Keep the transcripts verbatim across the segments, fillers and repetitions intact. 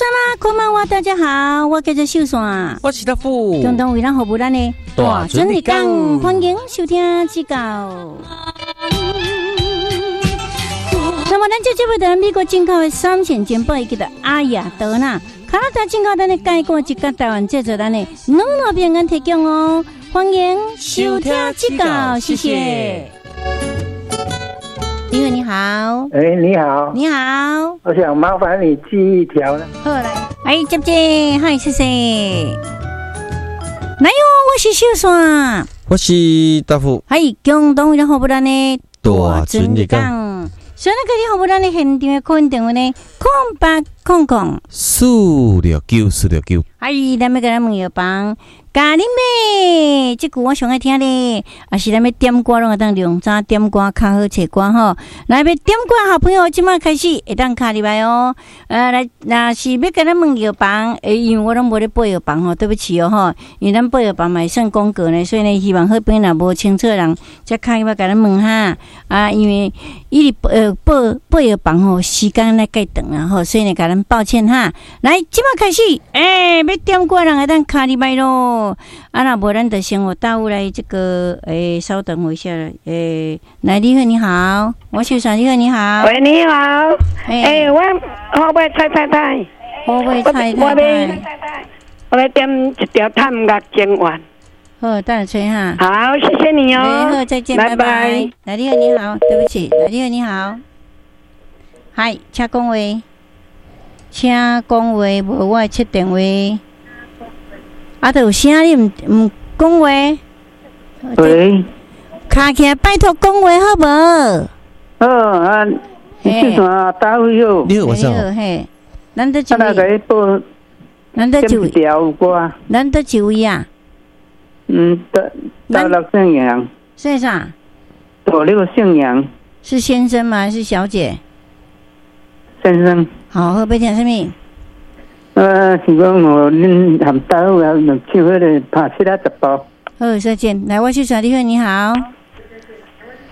啦，こんばんは，大家好，我叫做秀山。我是大富，共同為咱服務咱的大准日講。歡迎收聽這個。那麼咱這節目的美國進口的三線珍寶，叫做阿亞德啦。加拿大進口咱的蓋過一個台灣製作咱的軟糯平安提供哦，歡迎收聽這個，謝謝。你好，你好。哎，你好。你好。我想麻煩你寄一條呢。好來，哎，姐姐，嗨，謝謝。來喲，我是秀山，我是大富。嗨，共同為咱服務咱的大准日講。所以那個你服務咱的現場的 call in 電話呢，空八空空四六九四六九。哎，咱欲共咱問藥房，共恁買，這句我上愛聽咧，也是咱欲點歌攏會當量早點歌較好揣歌吼。來欲點歌好朋友，這擺開始會當敲入來哦。呃，來，若是欲共咱問藥房，欸，因為我攏無咧報藥房吼，對不起哦吼，因為咱報藥房嘛會算廣告呢，所以呢，希望好朋友若無清楚的人，才敲入來共咱問哈。啊，因為伊佇呃報報藥房吼，時間咧較長啊吼，所以呢，共咱抱歉哈。來，這擺開始，欸，欲點歌人會當敲入來囉。啊，若無咱就先予大武來這個，欸，稍等我一下，欸，來，你好，你好，我秀山，你好，你好。喂，你好，欸，我好尾蔡太太，好尾蔡太太，我欲點一條探樂情緣。好，等下吹哈。好，謝謝你哦。好，再見，拜拜。來，你好，你好，對不起，來，你好，你好。嗨，請講話，請講話，無我會切電話。啊，都有聲，你毋毋講話？喂，卡起來，拜託講話好無？好啊，你是啥大位好？你好，我是。嘿，咱佗一位？咱佗一位？歌。咱佗一位啊？嗯，大大陸姓楊。姓啥？大陸姓楊。是先生嗎？還是小姐？先生。好，好，欲聽啥物？呃，是講我恁含大有啊，唱彼个拍七仔十步。好，再見。來，我是小你好，你好。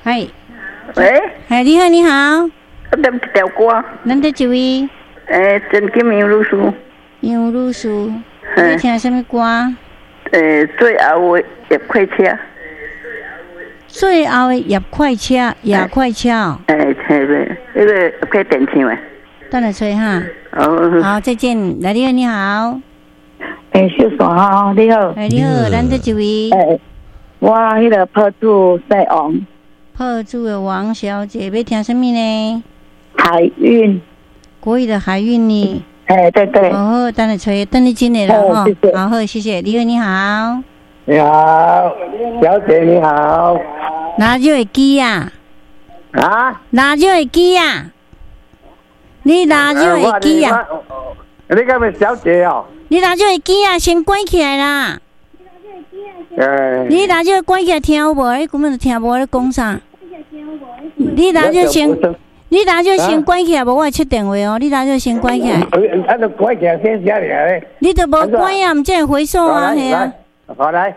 嗨。喂。嗨，你好，你好。我點一條歌。咱佗一位？欸，陳金楊女士。楊女士，你聽啥物歌？欸，最後的夜快車。最後的夜快車，夜快車。欸，嘿个，彼个葉啟田唱的。等下吹哈。好，再見。來，你好，你好。欸，秀山吼，你好。欸，你好，咱佗一位？欸，我彼个破厝姓王。破厝的王小姐，欲聽啥物呢？海運。國語的海運呢？欸，對對。好好，等下吹，等你進來了哈。好好，謝謝。你好，你好。你好，小姐你好。哪就會記啊？啊？哪就會記啊？你哪就會記啊？你敢是小姐哦？你哪就會記啊？先關起來啦！欸、你哪就關起來聽有無？你根本就聽無咧講啥？你哪就先，你哪就先關起來，無我會切電話哦。你哪就先關起來。啊，就關起來先寫咧。你都無關啊，毋才會回數啊，係啊。好來。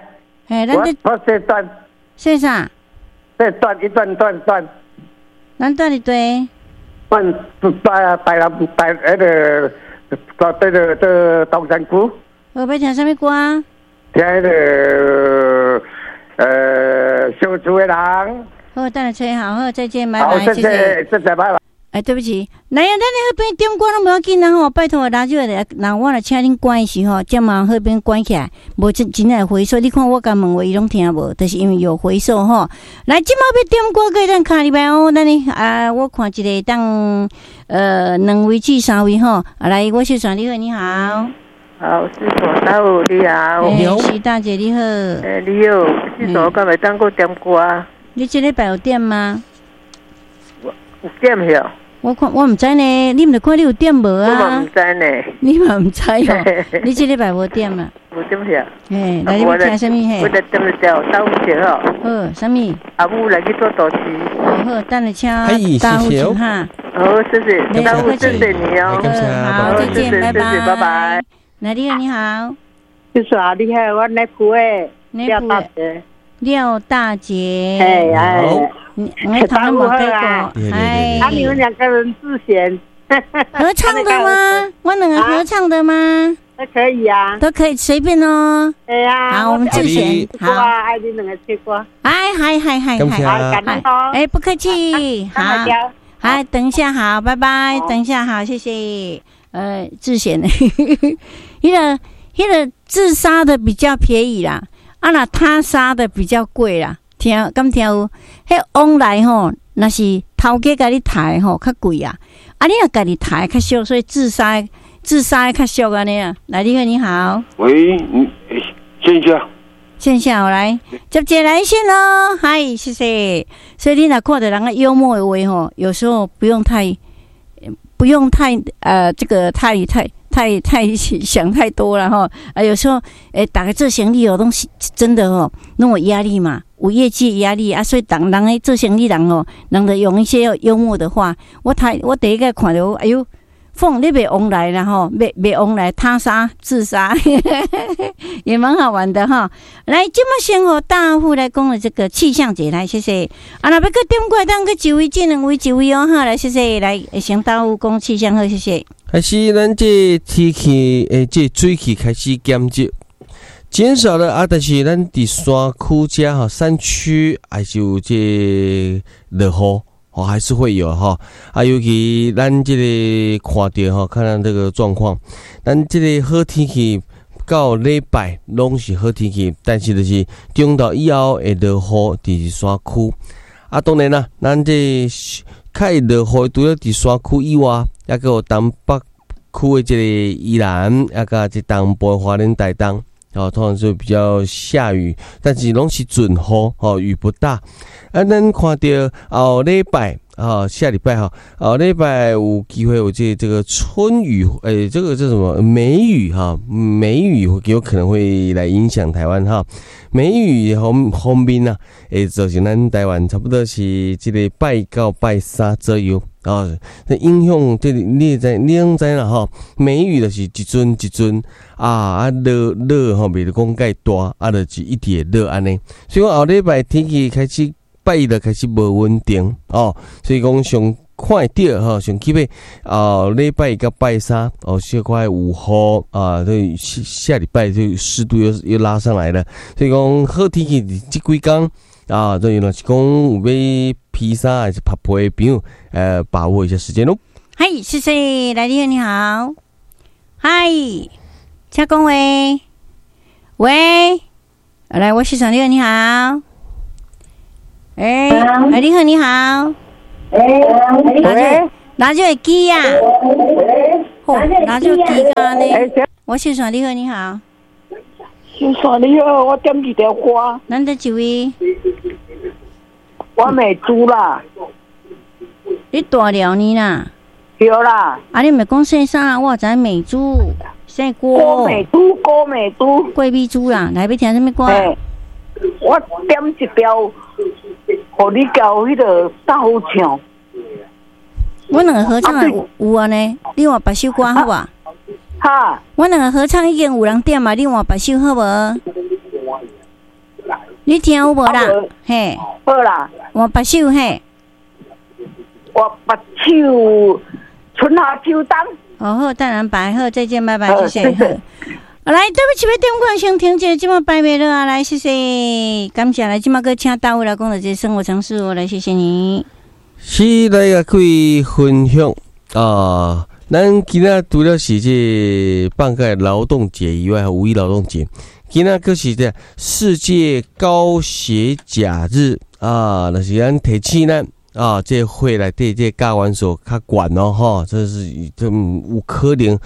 嘿，咱這我這段。說啥？這段一段段段。咱段一對。段台台南台彼个，到彼个到東山區。我欲聽啥物歌？聽彼个呃，相厝的人。好，等下吹好，好，再見，拜拜，謝謝，謝謝，拜拜。哎，對不起，來啊，咱咧彼邊點歌攏無要緊啦吼，拜託拉少來，那我若請恁關的時候，才嘛彼邊關起來，無真真會回數。你看我共問話，伊攏聽無，就是因為有回數吼。來，這馬欲點歌，閣會當敲入來哦。咱呢啊，我看一個當呃兩位至三位吼。啊，來，我小璇，你好，你好。好，師傅，大武你好。欸，徐大姐你好。欸，你好，師傅，敢會當閣點歌？你這禮拜有點嗎？有點曉。我看我毋知呢，你毋著看你有點無啊？我嘛毋知呢。你嘛毋知哦？你這禮拜無點啊？無點曉。嘿，來，你欲聽啥物嘿？我來點一條豆腐吼。好，啥物？阿母來去做導師。好，等下請大夫請哈。好，謝謝，大夫謝謝你哦。好，再見，拜拜，拜拜。來，你好，你好。就是啊，你好，我內埔的廖大姐。廖大姐。哎哎。你我頭冇睇過，哎。啊，你們兩個人自選。合唱的嗎？我兩個合唱的嗎？都可以啊，都可以隨便哦。對啊。好，我們自選。好，愛你兩个唱歌。哎，嗨嗨嗨嗨，哎，不客氣。好，好，等一下，好，拜拜。等一下，好，謝謝。呃，自選，彼个彼个自殺的比較便宜啦，啊若他殺的比較貴啦。聽，敢聽有？彼往來吼，若是頭家共你刣吼，較貴啊。啊，你若家己刣較俗，所以自殺自殺較俗按呢啊。來，你好，你好。喂，你線下。線下我來接一個來線囉，嗨，謝謝。所以你若看著人家幽默的話吼，有時候不用太，不用太呃，這個太太太太想太多了吼。啊，有時候欸，逐家做生意哦，攏是真的哦，攏有壓力嘛，有業績壓力啊，所以當人咧做生意人哦，人就用一些幽默的話。我睇我第一個看著，哎喲，鳳你袂往來啦吼，袂袂往來，他殺自殺，也蠻好玩的哈。來，這麼先予大戶來講的這個氣象節，來謝謝。啊，若欲閣點歌，當閣一位，這兩位一位哦哈，來謝謝。來，先大戶講氣象好，謝謝。開始咱這天氣，欸，這水汽開始減少，減少了啊！但是咱佇山區遮吼，山區還是有這落雨。哦，還是會有哈啊，尤其咱這個看著吼，看咱這個狀況，咱這個好天氣到禮拜攏是好天氣，但是就是中晝以後會落雨，佇山區。啊，當然啦，咱這較會落雨，除了佇山區以外，猶閣有東北區的這個宜蘭，猶佮這東部花蓮台東。哦，通常是比較下雨，但是攏是準雨，哦，雨不大。啊，咱看著後禮拜，啊，下禮拜哈，後禮拜有機會有這這個春雨，欸，這個叫什麼梅雨哈？梅雨有可能會來影響台灣哈。梅雨方方面啊，會造成咱台灣差不多是這個拜到拜三左右。哦，這影響這你知你攏知啦吼，梅雨就是一陣一陣啊啊落落吼，袂講蓋大，啊就是一直會落按呢。所以講後禮拜天氣開始拜一就開始無穩定哦，所以講上看會著吼，上起碼啊禮拜一佮拜三哦，小可有雨啊，這下下禮拜就濕度又又拉上來了，所以講好天氣這幾工啊，這若是講有欲披衫還是曬被的朋友，呃，把握一下時間囉。嗨，謝謝，來你好，你好，嗨，請講話，喂，來，我是你好，你好，欸，來你好，你好，欸，哪就會記啊？吼，哪就記啊？呢？我是說你好，你好，先生你好，我點一條歌。咱佗一位？我美珠啦。你大了呢啦？對啦。啊，你毋講姓啥？我知美珠，姓郭。郭美珠，郭美珠。郭美珠啦，來欲聽啥物歌？我點一條，予你交彼个大夫唱。我兩個合唱的有有啊呢，你換別首歌好無？哈。我兩個合唱已經有人點嘛，你換別首好無？你聽有無啦？嘿。好啦。換別首嘿。換別首春夏秋冬。哦好，淡藍白好，再見，拜拜，謝謝。好，來，對不起，欲點歌先停者，這馬擺袂落啊！來，謝謝，感謝來，這馬閣請大衛來講著這生活常識哦，來，謝謝你。是來共各位分享啊，咱今仔除了是這放假勞動節以外，五一勞動節，今仔閣是這世界高血鉀日啊，就是咱提醒咱啊，這血內底這鉀元素較懸哦，吼，這是這有可能予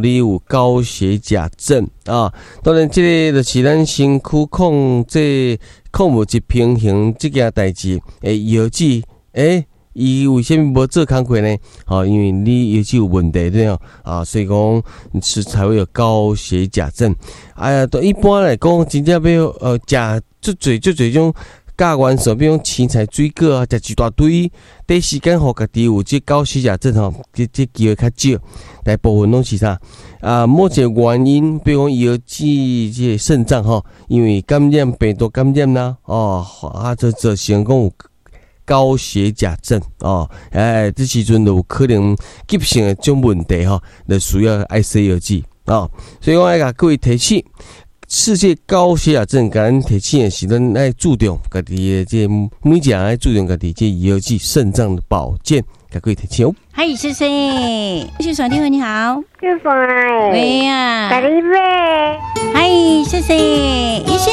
你有高血鉀症啊。當然，這個就是咱身軀控制礦物質平衡這件代誌的藥劑，欸，伊為啥物無做工課呢？吼，因為你藥劑有問題對哦，啊，所以講是才會有高血鉀症。哎呀，都一般來講，真正欲呃食足濟足濟種鉀元素，比如講青菜、水果啊，食一大堆，短時間予家己有這高血鉀症吼，這這機會較少。大部分攏是啥？啊，某一個原因，比如講腰子這個腎臟吼，因為感染病毒感染啦，哦，啊，就造成講有高血鉀症哦，哎，這時陣就有可能急性的這種問題吼，就需要愛西藥劑哦。所以我愛共各位提醒，世界高血壓症，共咱提醒的是，咱愛注重家己的這每一個人愛注重家己這藥劑腎臟的保健，共各位提醒哦。嗨，謝謝，謝謝電話你好，謝謝。喂呀，咖喱咩？嗨，謝謝，醫生。